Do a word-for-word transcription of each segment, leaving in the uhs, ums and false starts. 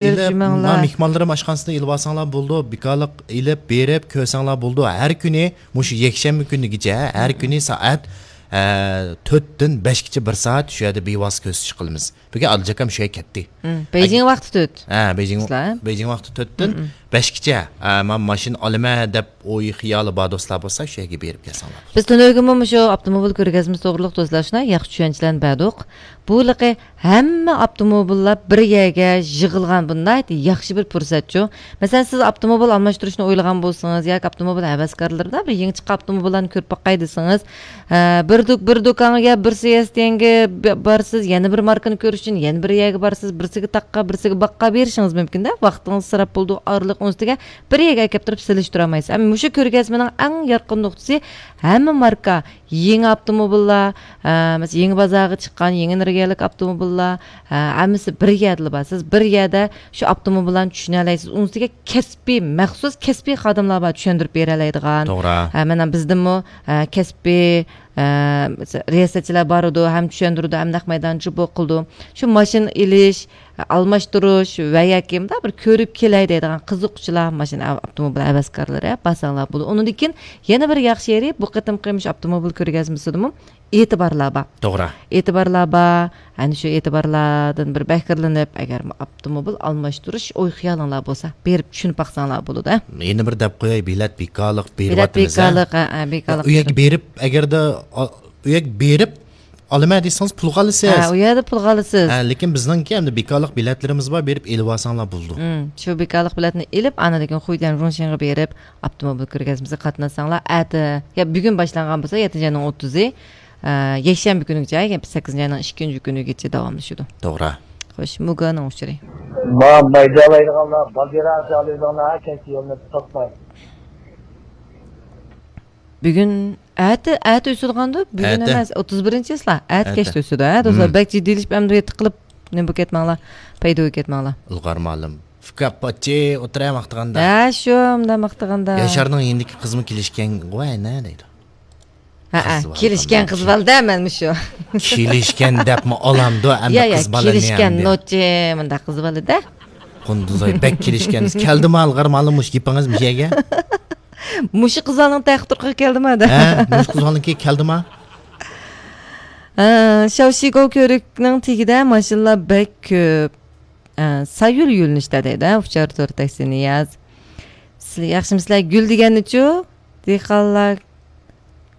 ئېلىپ، جۈمەڭلار. ما مېھمانلىرىم ئاشخانىسىدىن ئېلىۋالساڭلار بولىدۇ، بىكارلىق ئېلىپ بېرىپ كۆرسەڭلار بولىدۇ. ھەر كۈنى مۇشۇ يەكشەنبە كۈنىگىچە ھەر كۈنى سائەت، ئە، تۆتتىن بەشكىچە بىر سائەت شۇ يەردە بىۋاسىتە كۆرسىتىش قىلىمىز. بۈگۈن ئالىجاكام شۇ يەرگە كەتتى. مم. بېيجىڭ ۋاقتى تۆت. ھە، بېيجىڭ، بېيجىڭ ۋاقتى تۆتتىن بەشكىچە، ئە، مەن ماشىنا ئالىمەن دەپ ئوي خىيالى بار دوستلار بولسا، شۇ يەرگە بېرىپ كەلسەڭلار. بىز تۈنۈگۈنمۇ مۇشۇ ئاپتوموبىل كۆرگەزمىسى توغرىلىق دوستلار شۇنداق ياخشى چۈشەنچىلەرنى بەردۇق. بۇ ھېلىقى ھەممە ئاپتوموبىللار بىر يەرگە يىغىلغان، بۇ ناھايىتى ياخشى بىر پۇرسەتچۇ. مەسىلەن، سىز ئاپتوموبىل ئالماشتۇرۇشنى ئويلىغان بولسىڭىز ياكى ئاپتوموبىل ھەۋەسكارلىرىدا بىر يېڭى چىققان ئاپتوموبىللارنى كۆرۈپ باقاي دېسىڭىز، ھە، بىر دۇ-، بىر دۇكانغا بىرسى ئېس تى ئېنگە ب-، بارسىز، يەنە بىر ماركىنى كۆرۈش ئۈچۈن يەنە بىر يەرگە بارسىز، بىرسىگە تاققا، بىرسىگە باققا بېرىشىڭىز مۇمكىن-دە، ۋاقتىڭىز ئىسراپ بولىدۇ، ئارىلىق ئۇنىڭ ئۈستىگە بىر يەرگە ئەكەپ تۇرۇپ سېلىشتۇرالمايسىز. ئەمما مۇشۇ كۆرگەزمىنىڭ ئەڭ يارقىن نۇقتىسى، ھەممە ماركا، يېڭى ئاپتوموبىللار، ئە، مەسىلەن، يېڭى بازارغا چىققان يېڭى ئېنېرگىيەلىك ئاپتوموبىللار، ئە، ھەممىسى بىر يەردىلا بار. سىز بىر يەردە شۇ ئاپتوموبىللارنى چۈشىنەلەيسىز. ئۇنىڭ ئۈستىگە كەسپىي، مەخسۇس كەسپىي خادىملار بار، چۈشەندۈرۈپ بېرەلەيدىغان. توغرا. ئە، مانا بىزدىنمۇ، ئە، كەسپىي، ئە، رىياسەتچىلەر بارىدۇ، ھەم چۈشەندۈرىدۇ، ھەم نەق مەيداندا جۇبو قىلىدۇ. شۇ ماشىنا ئېلىش، ئالماشتۇرۇش ۋە ياكى مۇنداق بىر كۆرۈپ كېلەي دەيدىغان قىزىققۇچىلار، ماشىنا، ئاپتوموبىل ھەۋەسكارلىرى بارساڭلار بولىدۇ. ئۇنىڭدىن كېيىن يەنە بىر ياخشى يېرى، بۇ قېتىمقى مۇشۇ ئاپتوموبىل كۆرگەزمىسىدىمۇ ئېتىبارلار بار. توغرا. ئېتىبارلار بار. ئەنە شۇ ئېتىبارلاردىن بىر بەھرىلىنىپ، ئەگەر ئاپتوموبىل ئالماشتۇرۇش ئوي خىيالىڭلار بولسا، بېرىپ چۈشىنىپ باقساڭلار بولىدۇ. يەنە بىر دەپ قوياي، بېلەت بىكارلىق بېرىۋاتىمىز، ھە؟ بىكارلىق، ھە، ھە، بىكارلىق. ئۇ يەرگە بېرىپ، ئەگەردە، ئا، ئۇ يەرگە بېرىپ ئالىمەن دېسىڭىز، پۇلغا ئالىسىز. ھە، ئۇ يەردە پۇلغا ئالىسىز. ھە، لېكىن بىزنىڭكى ئەمدى بىكارلىق بېلەتلىرىمىز بار، بېرىپ ئېلىۋالساڭلار بولىدۇ. مم، شۇ بىكارلىق بېلەتنى ئېلىپ، ئاندىن كېيىن خۇيدەن رۇڭشىڭغا بېرىپ، ئاپتوموبىل كۆرگەزمىسىگە قاتناشساڭلار، ئەتە، يا بۈگۈن باشلانغان بولسا، يەتتىنچى ئاينىڭ ئوتتۇزى، ئە، يەكشەنبە كۈنىگىچە، يەنى سەككىزىنچى ئاينىڭ ئىككىنچى كۈنىگىچە داۋاملىشىدۇ. توغرا. خوش، مۇگانىڭ ئۇچۇرى. ما مەيدە ئالايدىغانلار، باگىرا ئالايدىغانلار ھەر كەيسى يولنى توسماي. بۈگۈن، ئەتە، ئەتە ئۆتىدىغاندۇ؟ بۈگۈن ئەتە. ئەمەس، ئوتتۇز بىرىنچى چىسلا. ئەتە ئەتە. كەچتە ئۆتىدۇ، ھە، دوستلار؟ مم. بەك جىددىيلىشىپ، ئەمدى يېتىق قىلىپ، نېمە بولۇپ كەتمەڭلار. پەيدا بولۇپ كەتمەڭلار. ئىلغار مالىم. فۇكاپاچى ئولتۇرا ماختىغاندا. ھە، شۇ، مۇنداق ماختىغاندا. ياشارنىڭ يېنىدىكى قىزمۇ كېلىشكەنغۇ، ئەنە، دەيدۇ. ھە، ھە، قىز بالا كېلىشكەن قىز بالىدا مەن مۇشۇ. كېلىشكەن دەپمۇ ئالامدۇ، ئەمدى يا، يا، قىز بالىنى كېلىشكەن ئەمدى. نوچى، مۇنداق قىز بالىدا. قۇندۇزاي، بەك كېلىشكەنسىز. كەلدىما، ئىلغار مالىم، مۇشۇ گېپىڭىز مۇشۇ يەرگە؟ مۇشۇ قىزلارنىڭ تەختى تۇرقىغا كەلدىما دە. ھە، مۇشۇ قىزلارنىڭكى كەلدىما؟ ئە، شاۋشىگو كۆۋرۈكنىڭ تېگىدە ماشىنىلار بەك كۆپ. ئە، سايۇل يۆنىلىشتە دەيدۇ، ئۇچار تور تاكسى نىياز. سىلەر ياخشىمۇسىلەر؟ گۈل دېگەننىچۇ؟ دېھقانلار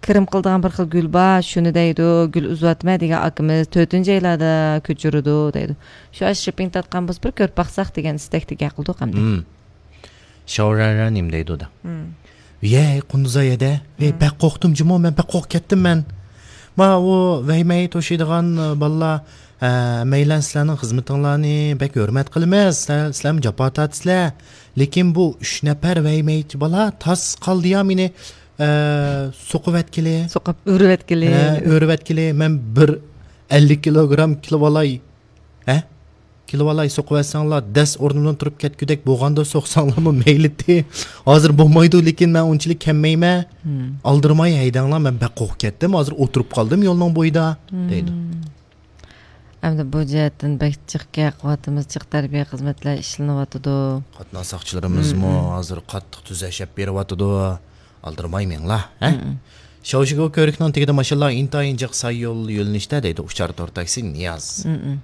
كىرىم قىلىدىغان بىر خىل گۈل بار، شۇنى دەيدۇ، گۈل ئۈزۈۋاتىمەن دېگەن ئاكىمىز تۆتىنچى ئايلاردا كۆچۈرىدۇ دەيدۇ. شۇ ئاشۇ شىپپىڭ تارتقان بولسا بىر كۆرۈپ باقساق دېگەن ئىستەكتە گەپ قىلدۇق ئەمدى. مم. شاۋرارا نېمە دەيدۇ دا؟ مم. يەي، قۇندۇزاي ھەدە. ۋەي، مم. بەك قورقتۇم جۇمۇ مەن، بەك قورقۇپ كەتتىم مەن. ما ئۇ ۋەيمەي توشۇيدىغان، ئە، بالىلار، ئە، مەيلەن سىلەرنىڭ خىزمىتىڭلارنى بەك ھۆرمەت قىلىمىز. سىلەر، سىلەرمۇ جاپا تارتىسىلەر. لېكىن بۇ ئۈچ نەپەر ۋەيمەيچى بالا تاس قالدى يا مېنى، ئە، سوقۇۋەتكىلى. سوقۇپ ئۆرۈۋەتكىلى. ھە، ئۆرۈۋەتكىلى. مەن بىر ئەللىك كىلوگرام كىلىۋالاي. ھە؟ كېلىۋالاي، سوقۇۋەتسەڭلار، دەس ئورنۇمدىن تۇرۇپ كەتكۈدەك بولغاندا سوقساڭلارمۇ مەيلىتى. ھازىر بولمايدۇ، لېكىن مەن ئۇنچىلىك كەممەيمەن. مم. ئالدىرىماي ھەيدەڭلار، مەن بەك قورقۇپ كەتتىم. ھازىر ئولتۇرۇپ قالدىم يولنىڭ بويىدا، مم. دەيدۇ. ئەمدى بۇ جەھەتتىن بەك جىق گەپ قىلىۋاتىمىز، جىق تەربىيە خىزمەتلەر ئىشلىنىۋاتىدۇ. قاتناش ساقچىلىرىمىزمۇ مم، مم. ھازىر قاتتىق تۈزەش ئېلىپ بېرىۋاتىدۇ. ئالدىرىماي مېڭىڭلار، ھە؟ مم. شاۋشىگو كۆۋرۈكنىڭ تېگىدە ماشىنىلار ئىنتايىن جىق سايۇل يۆنىلىشتە دەيدۇ، ئۇچار تور تاكسى نىياز. مم.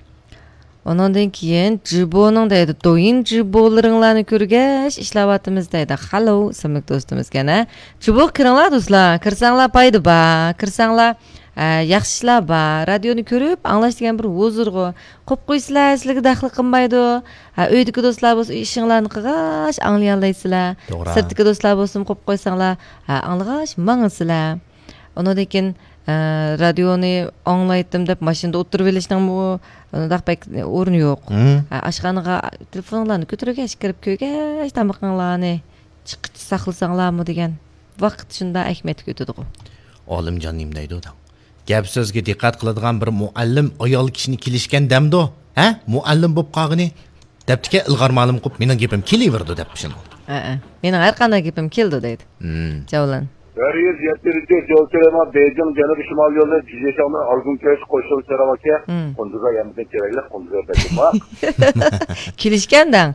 ئۇنىڭدىن كېيىن جىبونىڭ دەيدۇ، دويىن جىبولىرىڭلارنى كۆرگەچ ئىشلەۋاتىمىز دەيدۇ. خالو ئىسىملىك دوستىمىز يەنە. جىبو كىرىڭلار دوستلار، كىرسەڭلار پايدا بار، كىرسەڭلار، ئە، ياخشى ئىشلار بار. رادىيونى كۆرۈپ ئاڭلاش دېگەن بىر ھۇزۇرغۇ. قويۇپ قويسىلا، سىلەرگە دەخلى قىلمايدۇ. ھە، ئۆيدىكى دوستلار بولسا ئىشىڭلارنى قىلغاچ ئاڭلىيالايسىلەر. توغرا. سىرتتىكى دوستلار بولسىمۇ قويۇپ قويساڭلار، ھە، ئاڭلىغاچ ماڭىسىلەر. ئۇنىڭدىن كېيىن، ئە، رادىيونى ئاڭلايتتىم دەپ ماشىنىدا ئولتۇرۇۋېلىشنىڭمۇ ئۇنداق بەك ئورنى يوق. مم. ھە، ئاشخانىغا تېلېفونۇڭلارنى كۆتۈرگەچ كىرىپ كۆرگەچ تامىقىڭلارنى چىققىچە ساقلىساڭلارمۇ دېگەن ۋاقىت شۇنداق ئەھمىيەتلىك ئۆتىدىغۇ. ئالىمجان نېمە دەيدۇ دەڭ؟ گەپ سۆزگە دىققەت قىلىدىغان بىر مۇئەللىم ئايال كىشىنى كېلىشكەن دەمدۇ؟ ھە؟ مۇئەللىم بولۇپ قالغىنى؟ دەپتىكەن، ئىلغار مالىم قىلىپ، مېنىڭ گېپىم كېلىۋېرىدۇ دەپ شۇنى. ھەئە. مېنىڭ ھەر قانداق گېپىم كېلىدۇ دەيدۇ. مم. جاۋلان. بىر يۈز يەتتە يول كېلىما بېيجىڭ جەنۇبىي شىمال يولى جىجيېشاڭدىن ئارگۇنكەش قوشۇن سېرىڭ ئاكا. قۇندۇزغا يەمدىن كېرەكلىك قۇندۇزغا بەكىم بار. كېلىشكەن دەڭ.